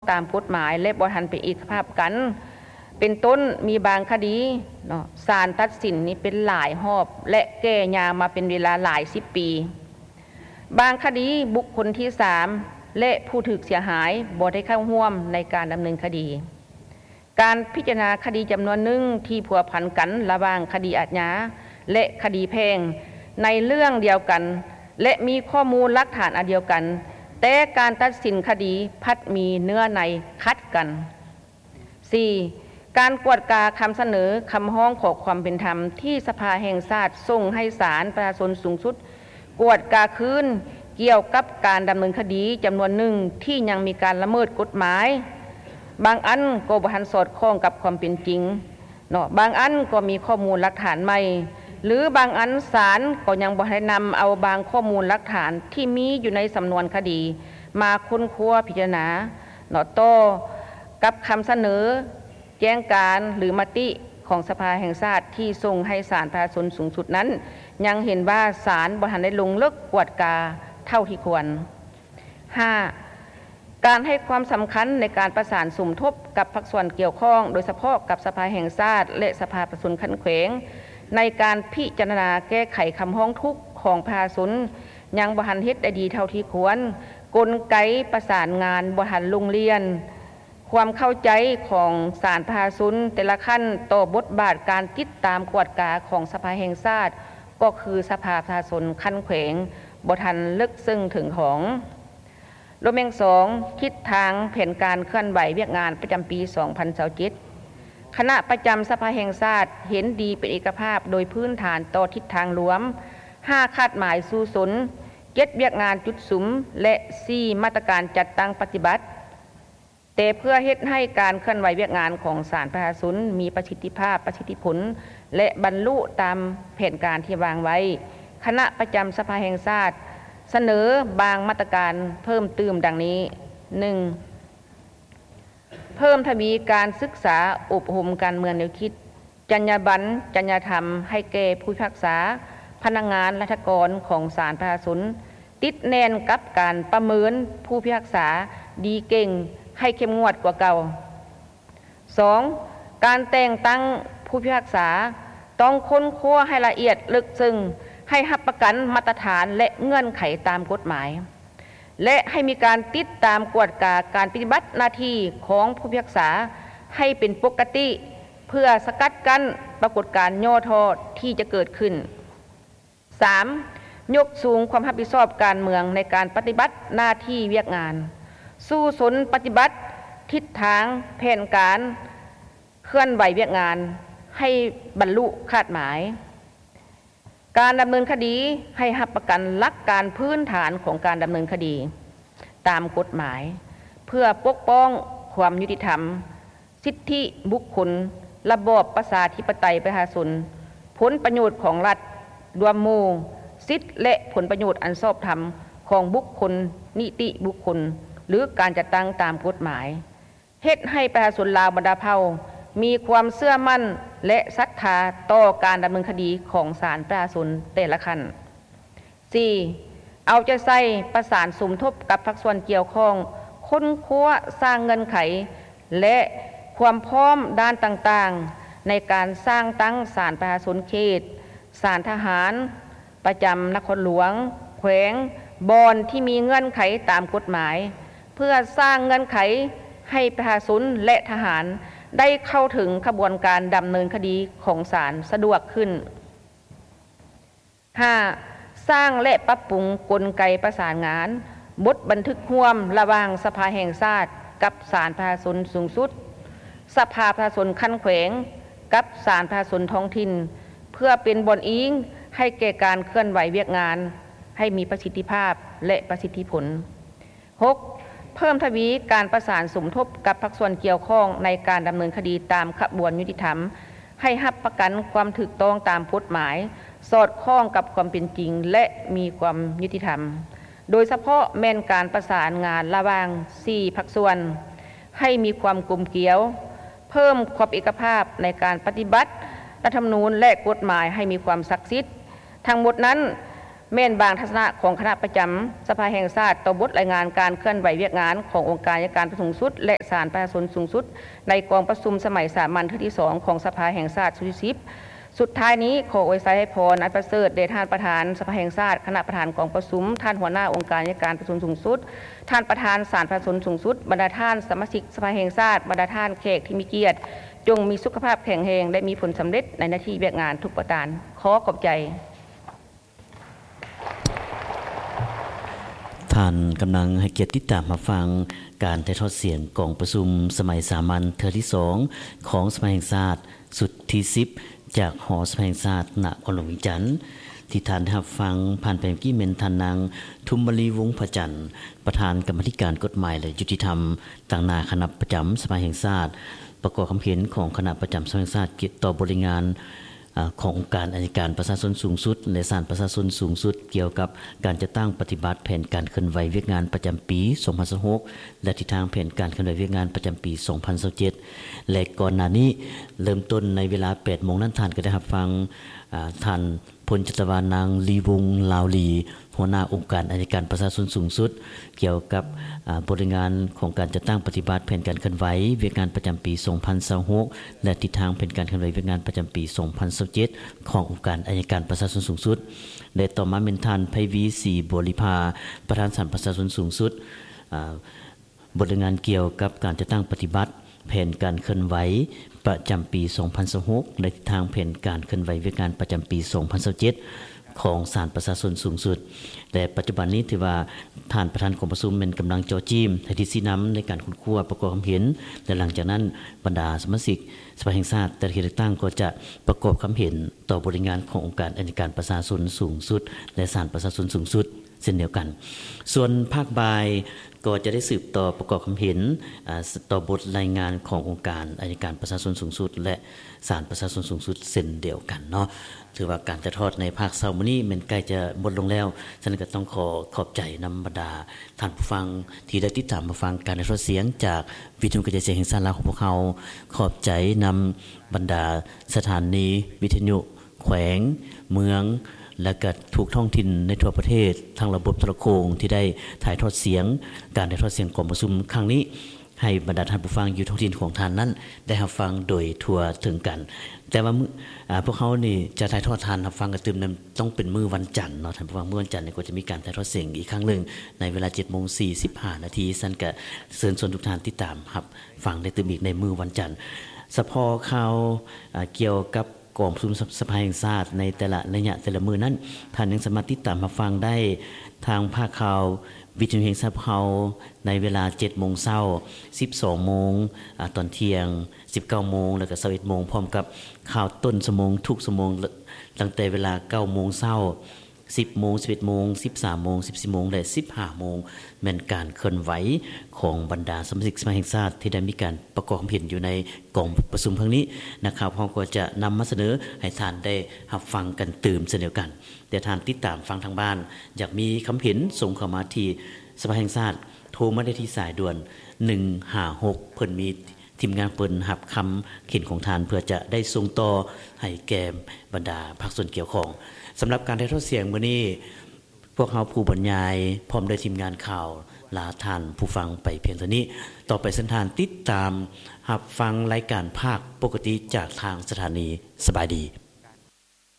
ຕາມກົດໝາຍ ແລະ ບໍ່ທັນເປັນເອກະພາບກັນ. ເປັນຕົ້ນ, ມີບາງຄະດີເນາະ ສານຕັດສິນນີ້ເປັນຫຼາຍຮອບ ແລະ ແກ່ຍາວມາເປັນເວລາຫຼາຍສິບປີ. ບາງຄະດີ, ບຸກຄົນທີສາມ ແລະ ຜູ້ຖືກເສຍຫາຍບໍ່ໄດ້ເຂົ້າຮ່ວມໃນການດຳເນີນຄະດີ. ການພິຈາລະນາຄະດີຈຳນວນໜຶ່ງທີ່ພົວພັນກັນລະຫວ່າງຄະດີອາຍາ ແລະ ຄະດີແພ່ງ ໃນເລື່ອງດຽວກັນ ແລະ ມີຂໍ້ມູນຫຼັກຖານອັນດຽວກັນ, ແຕ່ການຕັດສິນຄະດີພັດມີເນື້ອໃນຂັດກັນ. ສີ່, ການກວດກາຄຳສະເໜີຄຳຮ້ອງຂໍຄວາມເປັນທຳທີ່ສະພາແຫ່ງຊາດສົ່ງໃຫ້ສານປະຊາຊົນສູງສຸດກວດກາຄືນ ກ່ຽວກັບການດຳເນີນຄະດີຈຳນວນໜຶ່ງທີ່ຍັງມີການລະເມີດກົດໝາຍ, ບາງອັນກໍບໍ່ທັນສອດຄ່ອງກັບຄວາມເປັນຈິງເນາະ, ບາງອັນກໍມີຂໍ້ມູນຫຼັກຖານໃໝ່ ຫຼື ບາງອັນສານກໍຍັງບໍ່ໄດ້ນຳເອົາບາງຂໍ້ມູນຫຼັກຖານທີ່ມີຢູ່ໃນສຳນວນຄະດີມາຄົ້ນຄວ້າພິຈາລະນາເນາະ. ຕໍ່ກັບຄຳສະເໜີ ແຈ້ງການ ຫຼື ມະຕິຂອງສະພາແຫ່ງຊາດທີ່ສົ່ງໃຫ້ສານປະຊາຊົນສູງສຸດນັ້ນ ຍັງເຫັນວ່າສານບໍ່ທັນໄດ້ລົງເລິກກວດກາເທົ່າທີ່ຄວນ. ຫ້າ, ການໃຫ້ຄວາມສຳຄັນໃນການປະສານສົມທົບກັບພາກສ່ວນກ່ຽວຂ້ອງ, ໂດຍສະເພາະກັບສະພາແຫ່ງຊາດ ແລະ ສະພາປະຊາຊົນຂັ້ນແຂວງ ໃນການພິຈາລະນາແກ້ໄຂຄຳຮ້ອງທຸກຂອງປະຊາຊົນ ຍັງບໍ່ທັນເຮັດໄດ້ດີເທົ່າທີ່ຄວນ, ກົນໄກປະສານງານບໍ່ທັນລົງລຽນ, ຄວາມເຂົ້າໃຈຂອງສານປະຊາຊົນແຕ່ລະຂັ້ນຕໍ່ບົດບາດການຕິດຕາມກວດກາຂອງສະພາແຫ່ງຊາດ ກໍຄືສະພາປະຊາຊົນຂັ້ນແຂວງ ບໍ່ທັນເລິກເຊິ່ງເຖິງຂອງ. ລວມແຫ່ງສອງ, ທິດທາງແຜນການເຄື່ອນໄຫວວຽກງານປະຈຳປີສອງພັນຊາວເຈັດ ຄະນະປະຈຳສະພາແຫ່ງຊາດເຫັນດີເປັນເອກະພາບໂດຍພື້ນຖານຕໍ່ທິດທາງລວມ ຫ້າຄາດໝາຍສູ້ຊົນ, ເຈັດວຽກງານຈຸດສຸມ ແລະ ສີ່ມາດຕະການຈັດຕັ້ງປະຕິບັດ. ແຕ່ເພື່ອເຮັດໃຫ້ການເຄື່ອນໄຫວວຽກງານຂອງສານປະຊາຊົນມີປະສິດທິພາບ, ປະສິດທິຜົນ ແລະ ບັນລຸຕາມແຜນການທີ່ວາງໄວ້, ຄະນະປະຈຳສະພາແຫ່ງຊາດສະເໜີບາງມາດຕະການເພີ່ມຕື່ມດັ່ງນີ້. ໜຶ່ງ, ເພີ່ມທະວີການສຶກສາອົບຮົມການເມືອງແນວຄິດ, ຈັນຍາບັນ, ຈັນຍາທຳໃຫ້ແກ່ຜູ້ພິພາກສາ, ພະນັກງານລັດຖະກອນຂອງສານປະຊາຊົນ, ຕິດແໜ້ນກັບການປະເມີນຜູ້ພິພາກສາດີເກັ່ງໃຫ້ເຂັ້ມງວດກວ່າເກົ່າ. ສອງ, ການແຕ່ງຕັ້ງຜູ້ພິພາກສາຕ້ອງຄົ້ນຄວ້າໃຫ້ລະອຽດເລິກເຊິ່ງ, ໃຫ້ຮັບປະກັນມາດຕະຖານ ແລະ ເງື່ອນໄຂຕາມກົດໝາຍ ແລະ ໃຫ້ມີການຕິດຕາມກວດກາການປະຕິບັດໜ້າທີ່ຂອງຜູ້ພິພາກສາໃຫ້ເປັນປົກກະຕິ ເພື່ອສະກັດກັ້ນປາກົດການຫຍໍ້ທໍ້ທີ່ຈະເກີດຂຶ້ນ. ສາມ, ຍົກສູງຄວາມຮັບຜິດຊອບການເມືອງໃນການປະຕິບັດໜ້າທີ່ວຽກງານ, ສູ້ຊົນປະຕິບັດທິດທາງແຜນການເຄື່ອນໄຫວວຽກງານໃຫ້ບັນລຸຄາດໝາຍ. ການດຳເນີນຄະດີໃຫ້ຮັບປະກັນຫຼັກການພື້ນຖານຂອງການດຳເນີນຄະດີຕາມກົດໝາຍ ເພື່ອປົກປ້ອງຄວາມຍຸຕິທຳ, ສິດທິບຸກຄົນ, ລະບອບປະຊາທິປະໄຕປະຊາຊົນ, ຜົນປະໂຫຍດຂອງລັດລວມໝູ່, ສິດ ແລະ ຜົນປະໂຫຍດອັນຊອບທຳຂອງບຸກຄົນ, ນິຕິບຸກຄົນ ຫຼື ການຈັດຕັ້ງຕາມກົດໝາຍ, ເຮັດໃຫ້ປະຊາຊົນລາວບັນດາເຜົ່າມີຄວາມເຊື່ອໝັ້ນ ແລະ ສັດທາຕໍ່ການດຳເນີນຄະດີຂອງສານປະຊາຊົນແຕ່ລະຂັ້ນ. ສີ່, ເອົາໃຈໃສ່ປະສານສົມທົບກັບພາກສ່ວນກ່ຽວຂ້ອງ, ຄົ້ນຄວ້າສ້າງເງື່ອນໄຂ ແລະ ຄວາມພ້ອມດ້ານຕ່າງໆ ໃນການສ້າງຕັ້ງສານປະຊາຊົນເຂດ, ສານທະຫານປະຈຳນະຄອນຫຼວງ, ແຂວງ, ບ່ອນທີ່ມີເງື່ອນໄຂຕາມກົດໝາຍ, ເພື່ອສ້າງເງື່ອນໄຂໃຫ້ປະຊາຊົນ ແລະ ທະຫານໄດ້ເຂົ້າເຖິງຂະບວນການດຳເນີນຄະດີຂອງສານສະດວກຂຶ້ນ. ຫ້າ, ສ້າງ ແລະ ປັບປຸງກົນໄກປະສານງານ, ບົດບັນທຶກຮ່ວມລະຫວ່າງສະພາແຫ່ງຊາດກັບສານປະຊາຊົນສູງສຸດ, ສະພາປະຊາຊົນຂັ້ນແຂວງກັບສານປະຊາຊົນທ້ອງຖິ່ນ ເພື່ອເປັນບ່ອນອີງໃຫ້ແກ່ການເຄື່ອນໄຫວວຽກງານໃຫ້ມີປະສິດທິພາບ ແລະ ປະສິດທິຜົນ. ຫົກ, ເພີ່ມທະວີການປະສານສົມທົບກັບພາກສ່ວນກ່ຽວຂ້ອງໃນການດຳເນີນຄະດີຕາມຂະບວນຍຸຕິທຳ ໃຫ້ຮັບປະກັນຄວາມຖືກຕ້ອງຕາມກົດໝາຍ, ສອດຄ່ອງກັບຄວາມເປັນຈິງ ແລະ ມີຄວາມຍຸຕິທຳ, ໂດຍສະເພາະແມ່ນການປະສານງານລະຫວ່າງສີ່ພາກສ່ວນໃຫ້ມີຄວາມກົມກຽວ, ເພີ່ມຂອບເອກະພາບໃນການປະຕິບັດລັດທຳມະນູນ ແລະ ກົດໝາຍໃຫ້ມີຄວາມສັກສິດ. ທັງໝົດນັ້ນ ແມ່ນບາງທັດສະນະຂອງຄະນະປະຈຳສະພາແຫ່ງຊາດຕໍ່ບົດລາຍງານການເຄື່ອນໄຫວວຽກງານຂອງອົງການໄອຍະການສູງສຸດ ແລະ ສານປະຊາຊົນສູງສຸດ ໃນກອງປະຊຸມສະໄໝສາມັນເທື່ອທີສອງຂອງສະພາແຫ່ງຊາດຊຸດທີສິບ. ສຸດທ້າຍນີ້ ຂໍອວຍໄຊໃຫ້ພອນອັນປະເສີດແດ່ທ່ານປະທານສະພາແຫ່ງຊາດ, ຄະນະປະທານກອງປະຊຸມ, ທ່ານຫົວໜ້າອົງການໄອຍະການປະຊາຊົນສູງສຸດ, ທ່ານປະທານສານປະຊາຊົນສູງສຸດ, ບັນດາທ່ານສະມາຊິກສະພາແຫ່ງຊາດ, ບັນດາທ່ານແຂກທີ່ມີກຽດ, ຈົ່ງມີສຸຂະພາບແຂງແຮງ ແລະ ມີຜົນສຳເລັດໃນໜ້າທີ່ວຽກງານທຸກປະການ. ຂໍຂອບໃຈ. ທ່ານກຳລັງໃຫ້ກຽດຕິດຕາມຮັບຟັງການຖ່າຍທອດສຽງກອງປະຊຸມສະໄໝສາມັນເທື່ອທີສອງຂອງສະພາແຫ່ງຊາດຊຸດທີສິບ ຈາກຫໍສະພາແຫ່ງຊາດນະຄອນຫຼວງວຽງຈັນ. ທີ່ທ່ານໄດ້ຮັບຟັງຜ່ານໄປເມື່ອກີ້ແມ່ນທ່ານນາງ ທຸມມະລີ ວົງພະຈັນ ປະທານກຳມາທິການກົດໝາຍ ແລະ ຍຸຕິທຳ ຕາງໜ້າຄະນະປະຈຳສະພາແຫ່ງຊາດ ປະກອບຄຳເຫັນຂອງຄະນະປະຈຳສະພາແຫ່ງຊາດ ກ່ຽວຕໍ່ບົດລາຍງານ ອາ ຂອງອົງການໄອຍະການປະຊາຊົນສູງສຸດ ແລະ ສານປະຊາຊົນສູງສຸດ ກ່ຽວກັບການຈັດຕັ້ງປະຕິບັດແຜນການເຄື່ອນໄຫວວຽກງານປະຈຳປີສອງພັນຊາວຫົກ ແລະ ທິດທາງແຜນການເຄື່ອນໄຫວວຽກງານປະຈຳປີສອງພັນຊາວເຈັດ ແລະ ກ່ອນໜ້ານີ້ ເລີ່ມຕົ້ນໃນເວລາແປດໂມງນັ້ນ ທ່ານກໍໄດ້ຮັບຟັງ ອາ ທ່ານ ພົນຈັດຕະວານາງ ລີວົງ ລາວລີ ຫົວໜ້າອົງການໄອຍະການປະຊາຊົນສູງສຸດ ກ່ຽວກັບ ອາ ບົດລາຍງານຂອງການຈັດຕັ້ງປະຕິບັດແຜນການເຄື່ອນໄຫວວຽກງານປະຈຳປີສອງພັນຊາວຫົກ ແລະ ທິດທາງແຜນການເຄື່ອນໄຫວວຽກງານປະຈຳປີສອງພັນຊາວເຈັດ ຂອງອົງການໄອຍະການປະຊາຊົນສູງສຸດ ແລະ ຕໍ່ມາແມ່ນທ່ານ ໄພວີ ສີບົວລິພາ ປະທານສານປະຊາຊົນສູງສຸດ ອາ ບົດລາຍງານກ່ຽວກັບການຈັດຕັ້ງປະຕິບັດແຜນການເຄື່ອນໄຫວປະຈຳປີສອງພັນຊາວຫົກ ແລະ ທິດທາງແຜນການເຄື່ອນໄຫວວຽກງານປະຈຳປີສອງພັນຊາວເຈັດ ຂອງສານປະຊາຊົນສູງສຸດ ແລະ ປັດຈຸບັນນີ້ຖືວ່າທ່ານປະທານກອງປະຊຸມແມ່ນກຳລັງເຈາະຈີ້ມໃຫ້ທິດຊີ້ນຳໃນການຄົ້ນຄວ້າປະກອບຄຳເຫັນ ແລະ ຫຼັງຈາກນັ້ນບັນດາສະມາຊິກສະພາແຫ່ງຊາດແຕ່ລະເຂດເລືອກຕັ້ງກໍຈະປະກອບຄຳເຫັນຕໍ່ບົດລາຍງານຂອງອົງການໄອຍະການປະຊາຊົນສູງສຸດ ແລະ ສານປະຊາຊົນສູງສຸດ ເຊັ່ນດຽວກັນ. ສ່ວນພາກບ່າຍກໍຈະໄດ້ສືບຕໍ່ປະກອບຄຳເຫັນ ອາ ຕໍ່ບົດລາຍງານຂອງອົງການໄອຍະການປະຊາຊົນສູງສຸດ ແລະ ສານປະຊາຊົນສູງສຸດເຊັ່ນດຽວກັນເນາະ. ຖືວ່າການຖ່າຍທອດໃນພາກເຊົ້າມື້ນີ້ແມ່ນໃກ້ຈະໝົດລົງແລ້ວ, ສະນັ້ນກໍຕ້ອງຂໍຂອບໃຈນຳບັນດາທ່ານຜູ້ຟັງທີ່ໄດ້ຕິດຕາມຮັບຟັງການຖ່າຍທອດສຽງຈາກວິທະຍຸກະຈາຍສຽງແຫ່ງຊາດລາວຂອງພວກເຮົາ. ຂອບໃຈນຳບັນດາສະຖານີວິທະຍຸ ແຂວງ, ເມືອງ ແລະ ກະທຸກທ້ອງຖິ່ນໃນທົ່ວປະເທດ ທັງລະບົບໂທລະໂຄ່ງທີ່ໄດ້ຖ່າຍທອດສຽງ ການຖ່າຍທອດສຽງກອງປະຊຸມຄັ້ງນີ້ ໃຫ້ບັນດາທ່ານຜູ້ຟັງຢູ່ທ້ອງຖິ່ນຂອງທ່ານນັ້ນໄດ້ຮັບຟັງໂດຍທົ່ວເຖິງກັນ. ແຕ່ວ່າມື້ ອາ ພວກເຮົານີ້ຈະຖ່າຍທອດທ່ານຮັບຟັງກັນຕື່ມນັ້ນ ຕ້ອງເປັນມື້ວັນຈັນເນາະ ທ່ານຜູ້ຟັງ. ມື້ວັນຈັນນີ້ກໍຈະມີການຖ່າຍທອດສຽງອີກຄັ້ງໜຶ່ງ ໃນເວລາເຈັດໂມງສີ່ສິບຫ້ານາທີ. ຊັ້ນກະເຊີນຊວນທຸກທ່ານຕິດຕາມຮັບຟັງໄດ້ຕື່ມອີກໃນມື້ວັນຈັນ. ສະເພາະຂ່າວ ອາ ກ່ຽວກັບ ກອງປະຊຸມສະ ສະພາແຫ່ງຊາດໃນແຕ່ລະໄລຍະແຕ່ລະມື້ນັ້ນ, ທ່ານຍັງສາມາດຕິດຕາມຮັບຟັງໄດ້ທາງພາກຂ່າວວິທະຍຸແຫ່ງຊາດພວກເຮົາ ໃນເວລາເຈັດໂມງເຊົ້າ, ສິບສອງໂມງ, ອາ ຕອນທ່ຽງ, ສິບເກົ້າໂມງ ແລະ ກະຊາວເອັດໂມງ, ພ້ອມກັບຂ່າວຕົ້ນຊົ່ວໂມງທຸກຊົ່ວໂມງ ລະ ຕັ້ງແຕ່ເວລາເກົ້າໂມງເຊົ້າ, ສິບໂມງ, ສິບເອັດໂມງ, ສິບສາມໂມງ, ສິບສີ່ໂມງ ແລະ ສິບຫ້າໂມງ ແມ່ນການເຄື່ອນໄຫວຂອງບັນດາສະມາຊິກສະພາແຫ່ງຊາດທີ່ໄດ້ມີການປະກອບຄຳເຫັນຢູ່ໃນ ກອງປະຊຸມຄັ້ງນີ້ ນັກຂ່າວເຮົາກໍຈະນຳມາສະເໜີໃຫ້ທ່ານໄດ້ຮັບຟັງກັນຕື່ມເຊັ່ນດຽວກັນ. ແຕ່ທ່ານຕິດຕາມຟັງທາງບ້ານ ຢາກມີຄຳເຫັນ ສົ່ງເຂົ້າມາທີ່ສະພາແຫ່ງຊາດ, ໂທມາໄດ້ທີ່ສາຍດ່ວນໜຶ່ງຫ້າຫົກ ເພິ່ນມີ ທີມງານເພິ່ນຮັບຄຳເຫັນຂອງທ່ານ ເພື່ອຈະໄດ້ສົ່ງຕໍ່ໃຫ້ແກ່ບັນດາພາກສ່ວນກ່ຽວຂ້ອງ. ສຳລັບການຖ່າຍທອດສຽງມື້ນີ້ ພວກເຮົາຜູ້ບັນຍາຍ ພ້ອມດ້ວຍທີມງານຂ່າວ ລາທ່ານຜູ້ຟັງໄປພຽງເທົ່ານີ້. ຕໍ່ໄປເຊີນທ່ານຕິດຕາມຮັບຟັງລາຍການພາກປົກກະຕິຈາກທາງສະຖານີ. ສະບາຍດີ.